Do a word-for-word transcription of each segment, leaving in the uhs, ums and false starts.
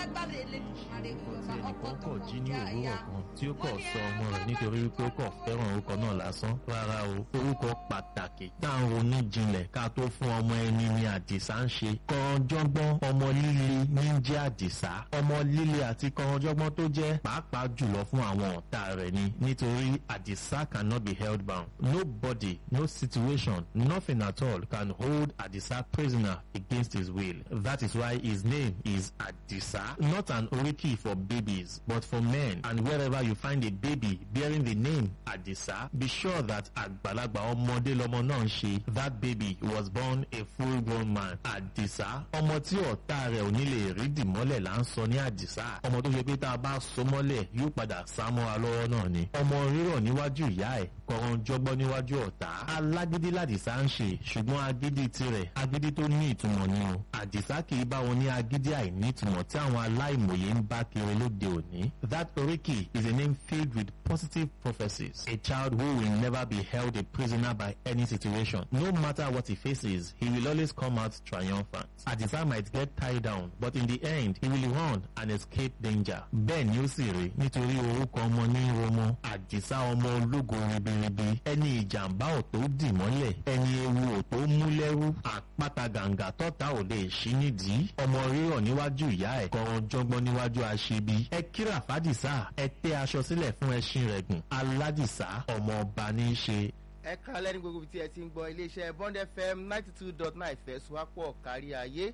Lágbára Elédùmarè Orúkọ tí ọba ọkọ ẹnìkan tọmọ kọ̀ jí ní kí òwúrọ̀ aya. kan tí ó kọ̀ sọ ọmọ rẹ̀ nítorí wípé ó kọ̀ fẹ́ràn orúkọ náà lásán. Rárá o, orúkọ pàtàkì tá à ń ronú jinlẹ̀ ká tó fún ọmọ ẹni ni Àdìsá ń ṣe. Kọ̀ọ̀jọ̀gbọ́n ọmọ líle ní ń jẹ́ Àdìsá. Ọmọ líle àti kọ̀ọ̀jọ̀gbọ́n tó jẹ́ pàápàá jùlọ fún àwọn ọ̀tá rẹ̀ ni nítorí Àdìsá cannot be held bound. Nobody, no situation, nothing at all can hold Àdìsá prisoner against his will. That is why his name is Àdìsá, not an oriki for babies, but for men. And wherever you find a baby bearing the name Àdìsá, be sure that àgbàlagbà ọmọdé lọmọ náà ń ṣe. That baby was born a full grown man. Àdìsá, ọmọ tí ọ̀tá rẹ̀ ò ní lè rí dìmọ́lẹ̀ là ń sọ ní Àdìsá. Ọmọ tó ṣe pé tá a bá so mọ́lẹ̀ yóò padà sá mọ́ra lọ́wọ́ náà ni. Ọmọ rírọ̀ níwájú ìyá ẹ̀, kọ̀rọ̀njọ́gbọ́n níwájú ọ̀tá. Alágídí làdìsá ń ṣe, ṣùgbọ́n agídí tirẹ̀, agídí tó ní ìtumọ̀ ni o. Àdìsá kì í bá wọn ní agídí àìnítumọ̀ tí àwọn aláìmọ̀ye ń bá kiri lóde òní. That oriki is a name filled with positive prophecies. A child who will never be held a prisoner by any situation. No matter what he faces, he will always come out triumphant. Àdìsá might get tied down, but in the end, he will run and escape danger. Bẹ́ẹ̀ ni ó sì rí nítorí orúkọ ọmọ ní romọ. Àdìsá ọmọ ológo ribiribi. Ẹni ìjàmbá ò tó dì mọ́lẹ̀. Ẹni ewu ò tó mú lẹ́rú. Àpáta gàǹgà tọ́ta ò lè ṣí nídìí. Ọmọ rírọ̀ níwájú ìyá ẹ̀ kọ̀ọ̀rọ̀ jọgbọ́n níwájú aṣebi. Ẹ kíra fàdìsá, ẹ tẹ́ aṣọ sílẹ̀ fún ẹṣin rẹ̀ gùn. Aládìsá ọmọ ọba ní í ṣe. Ẹ kálẹ́ ní gbogbo ibi tí ẹ ti ń gbọ́ iléeṣẹ́ Bond F M ninety two dot nine fẹ̀sùwápọ̀ kárí ayé.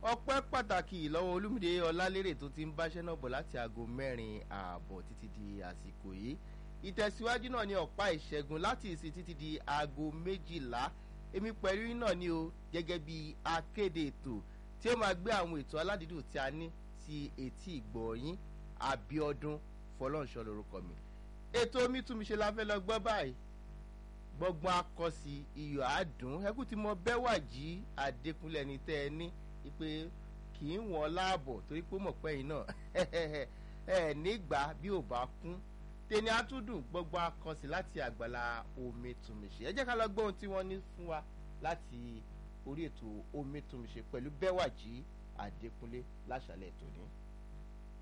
Ọpẹ́ pàtàkì lọ́wọ́ Olúmídé Ọlálérè tó ti ń báṣẹ́ náà bọ̀ láti aago mẹ́rin ààbọ̀ títí di àsìkò yìí. Ìtẹ̀síwájú náà ní ọ̀pá ìṣẹ́gun láti ìsìn títí di aago méjìlá. Èmi pẹ̀lú yín náà ni o, gẹ́gẹ́ bí akéde ètò tí ó máa gbé àwọn ètò aládìídùn tí a ní sí etí ìgbọ́ yín, Abíọ́dún Fọlọ́runṣọ́ lórúkọ mi. Ètò omi túnmíṣe la fẹ́ lọ gbọ́ báyìí. Gbọ́ngbọ́n akọ́sí iyọ̀ àdùn ẹkú ti mọ Bẹ́wàjí Adékúnlé ẹni tẹ́ ẹ ní pé kì í wọ́n láàbọ̀ torí pé ó mọ̀ pé ẹ̀yin náà ẹ nígbà bí ò bá kún tẹni àtúndùn. Gbọ́ngbọ́n akọ́sí láti àgbàlá omi túnmíṣe. Ẹ jẹ́ ká lọ gbọ́ ohun tí wọ́n ní fún wa láti orí ètò omi túnmíṣe pẹ̀lú Bẹ́wàjí Adékúnlé láṣàlẹ̀ tòní.